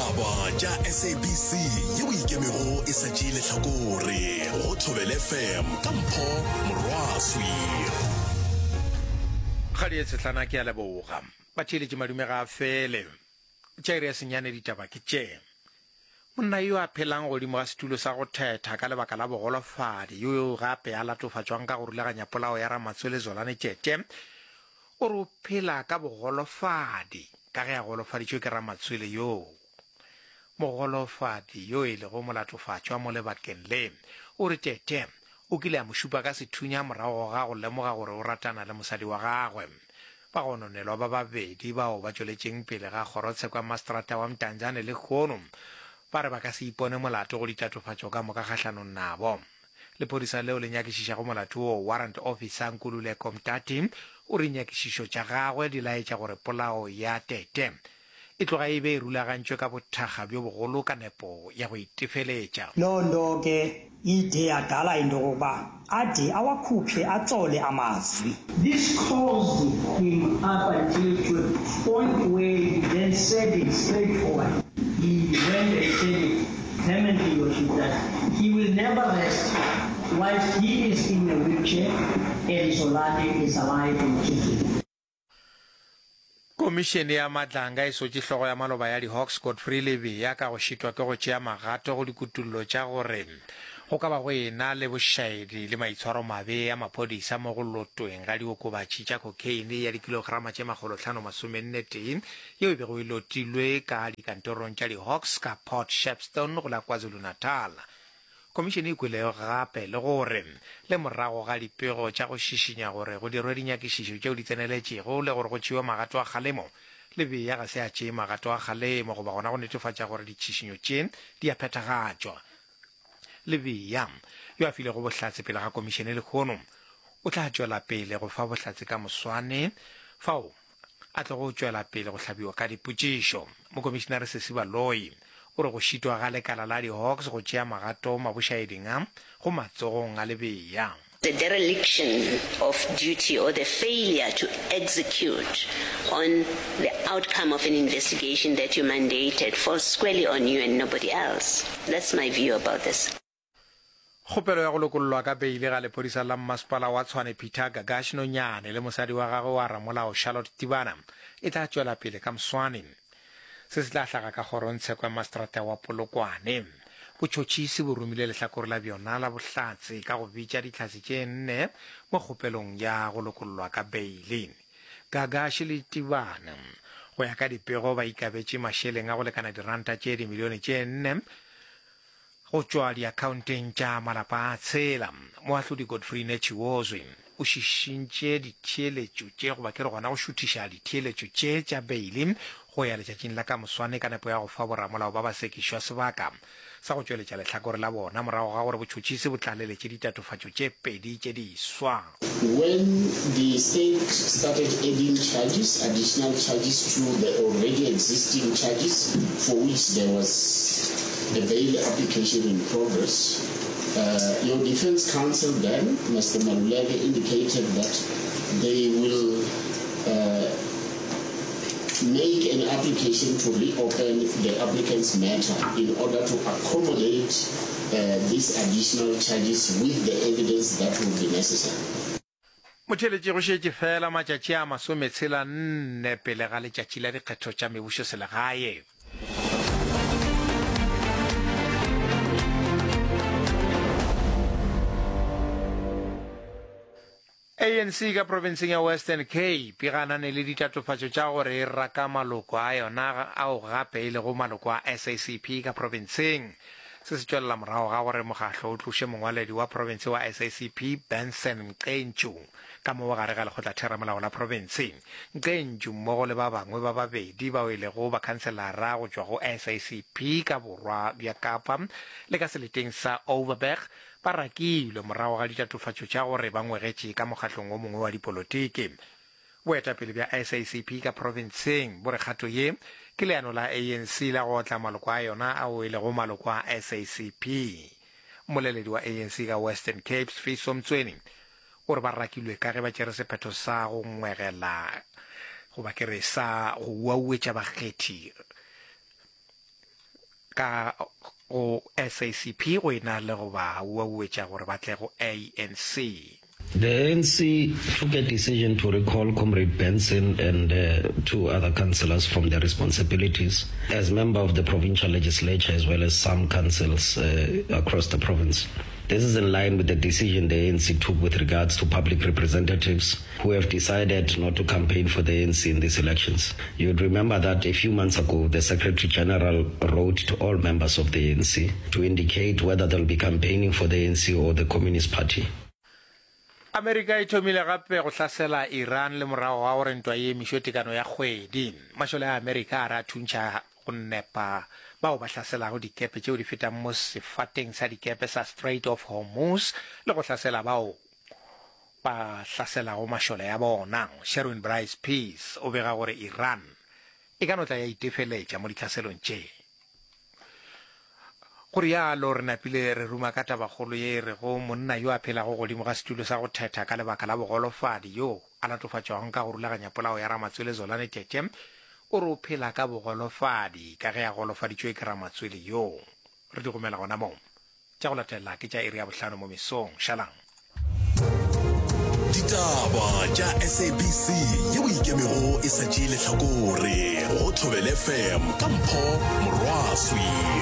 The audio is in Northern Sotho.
Ditaba tša SABC yeo e ikemego e sa tšee lehlakore go Thobela FM ka Mpho Morwaswi. Kgadi ye tshehlana ke a leboga. Batheeletši madume ga a fele. Tša iri ya senyane ditaba ke tše. Monna yo a phelang godimo ga setulo sa go thetha ka lebaka la bogolofadi yo gape a latofatšwang ka go rulaganya polao ya Ramatswele Zolane Tšete o re o phela ka bogolofadi ka ge a golofaditšwe ke ramatswele yoo. Mogolofadi yo e lego molatofatšwa mo lebakeng le o re Tete o kile a mo šupa ka sethunya morago ga go lemoga gore o ratana le mosadi wa gagwe. Bagononelwa ba babedi bao ba tšweletšeng pele ga kgorotsheko ya maseterata wa Mdantsane lehono ba re ba ka se ipone molato go ditatofatšo ka moka kgahlanong nabo. Lephodisa leo le nyakišišago molato woo, Warrant Officer Nkululeko Mtati, o re nyakišišo tša gagwe di laetša gore polao ya Tete e tloga e be e rulagantšwe ka bothakga bjo bogolo ka nepo ya go itefeletša. Loo nto ke ide yadala into yokokuba ade awakhuphe atsole amazwi. This caused him up until to a point where he then said it straightforward. He went and said it vehemently, Your Worship, that he will never rest whilst he is in a wheelchair and Zolani is alive and kicking. Komišene ya Madlanga e sotše hlogo ya maloba ya di-Hawks Godfrey Lebeya ka go šitwa ke go tšea magato go dikutullo tša gore go ka ba go e-na le bošaedi le maitshwaromabe a maphodisa mo go lotweng ga diokobatši tša khokheine ya dikilograma tše makgolohlano-masomenne-tee yeo e bego e lotilwe ka dikantorong tša di-Hawks ka Port Shepstone go la KwaZulu-Natal. Khomišene e kwele gape le gore le morago ga dipego tša go šišinya gore go dirwe dinyakišišo tšeo di tseneletšego le gore go tšewe magato a kgalemo, Lebeya ga se a tšee magato a kgalemo goba gona go netefatša gore ditšhišinyo tše di a phethagatšwa. Lebeya, yo a filego bohlatse pele ga komišene lehono, o tla tšwela pele go fa bohlatse ka moswane fao a tlogo tšwela pele go hlabiwa ka dipotšišo. Mokomišenare Sesi Baloyi o re go šitwa ga lekala la di-Hawks go tšea magato mabošaeding a go matsogong a Lebeya. The dereliction of duty or the failure to execute on the outcome of an investigation that you mandated falls squarely on you and nobody else. That's my view about this. Kgopelo ya go lokollwa ka beile ga lephodisa la mmasepala wa Tshwane Peter Gagash Nonyane le mosadi wa gagwe wa ramolao Charlotte Tibana e tla tšwela pele ka moswane. Se se tla hlaga ka kgorongtsheko ya maseterata wa Polokwane. Botšhotšhisi bo romile lehlakore la bjona la bohlatse ka go bitša dihlatse tše nne mo kgopelong ya go lokollwa ka beile. Gagash le Tibana go ya ka dipego ba ikabetše mašeleng a go lekana diranta tše dimilione tše nne Go tšwa diakhaonteng tša malapa a tshela, Moahlodi Godfrey Netshiozwi o šišintše ditheeletšo tše goba ke re gona go šuthiša ditheeletšo tše tša beile go ya letšatšing la ka moswane ka nepo ya go fa boramolao ba basekišwa sebaka sa go tšweletša lehlakore la bona morago ga gore botšhotšhisi bo tlaleletše ditatofatšo tše pedi tše diswa. When the state started adding charges, additional charges to the already existing charges for which there was a bail application in progress, uh, your defense counsel then, Mr. Maluleke, indicated that they will uh, make an application to reopen the applicant's matter in order to accommodate uh, these additional charges with the evidence that will be necessary. Motheeletši go šetše feela matšatši a masometshela nne pele ga letšatši la dikgetho tša mebušoselegae. ANC ka profenseng ya Western Cape e ganane le ditatofatšo tša gore e raka maloko a yona ao gape e lego maloko a SACP ka profenseng. Se se tšwelela morago ga gore mokgahlo o tloše mongwaledi wa profense wa SACP Benson Mqentšu ka mo gare ga lekgotlatheramolao la profense. Mqentšu mmogo le ba bangwe ba babedi bao e lego bakhanselara go tšwa go SACP ka borwa bja Kapa le ka seleteng sa Overberg Ba rakilwe morago ga ditatofatšo tša gore ba ngwegetše ka mokgahlong o mongwe wa dipolotiki. Boetapele bja SACP ka profenseng bo re kgato ye ke leano la ANC la go otla maloko a yona ao e lego maloko a SACP. Mmoleledi wa ANC ka Western Cape, Sfiso Mtsweni, o re ba rakilwe ka ge ba tšere sephetho sa go ngwegela goba ke re sa go uauetša bakgethi. ka go SACP go e na le go ba uauetša gore ba tle go ANC. The ANC took a decision to recall Comrade Benson and uh, two other councillors from their responsibilities as member of the provincial legislature as well as some councils uh, across the province. This is in line with the decision the ANC took with regards to public representatives who have decided not to campaign for the ANC in these elections. You would remember that a few months ago, the Secretary General wrote to all members of the ANC to indicate whether they'll be campaigning for the ANC or the Communist Party. Amerika e thomile gape go hlasela Iran le morago ga gore ntwa e emišwe tekano ya kgwedi. Mašole a Amerika a re a thuntšha go nepa bao ba hlaselago dikepe tšeo di fetang mo sefateng sa dikepe sa Strait of Hormuz le go hlasela bao ba hlaselago mašole a bona. Sherwin Bryce Pease o bega gore Iran e ka no tla ya itefeletša mo ditlhaselong tše. Go rialo re napile re ruma ka tabakgolo ye e rego monna yo a phelago godimo ga setulo sa go thetha ka lebaka la bogolofadi yo a latofatšwago ka go rulaganya polao ya Ramatswele Zolani Tete o re o phela ka bogolofadi ka ge a golofaditšwe ke Ramatswele yoo. Re di gomela gona moo. Tša go latela ke tša iri ya bohlano mo mesong. Šalang. Ditaba tša SABC yeo e ikemego e sa tšee lehlakore go Thobela FM ka Mpho Morwaswi.